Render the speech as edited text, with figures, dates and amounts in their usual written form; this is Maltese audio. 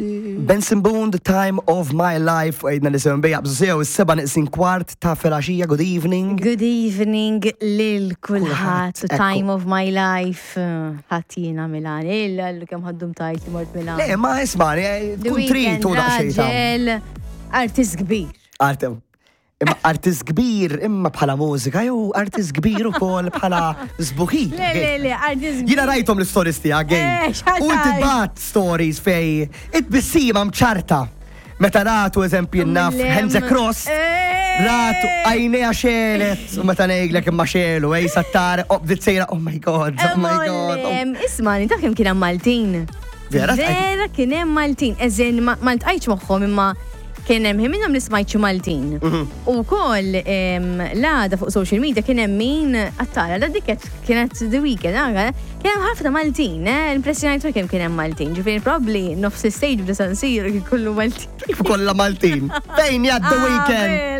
Benson Boone, The Time of My Life, u għidna li sewn bejja bżu sew, is-seba neqsin kwart ta' filgħaxija, good evening. Good evening lil kulħadd, Kulħadd, time of my life. Ħadd jiena Milan, illa l kemm ħaddum tajt li mort Milan. Le, ma isma' The tkun trid Weeknd, u daqsxejn ta' raġel, artist kbir. Artem. Imma artist kbir imma bħala mużika jew artist kbir ukoll bħala sbuħi. Le, le, le, artist kbir. Jiena rajthom l-stories tiegħek, gej. Eh, x'ħadd U inti għaj. bat stories fej it-tbissima mċarta. Meta ratu eżempju naf Lem. Hands Across. Eh. Ratu għajnejha xelet u meta ngħidlek imma xelu, ej sattar, oh, bdiet sejra, oh my God, oh my God. oh. Isma, taf kemm kien hemm Maltin. Vera? Vera kien hemm Maltin. Eżin, ma ltqajtx magħhom imma kien hemm ħin minnhom li smajt xi Maltin. U wkoll l-għada fuq social media kien hemm min attara la dik kienet The Weeknd, anka, kien hemm ħafna Maltin, eh, impressjonajt kemm kien hemm Maltin. Ġifieri probabbli nofs stage b'da San Siro kien kollu Maltin. Kif kollha Maltin. Fejn jgħad The Weeknd?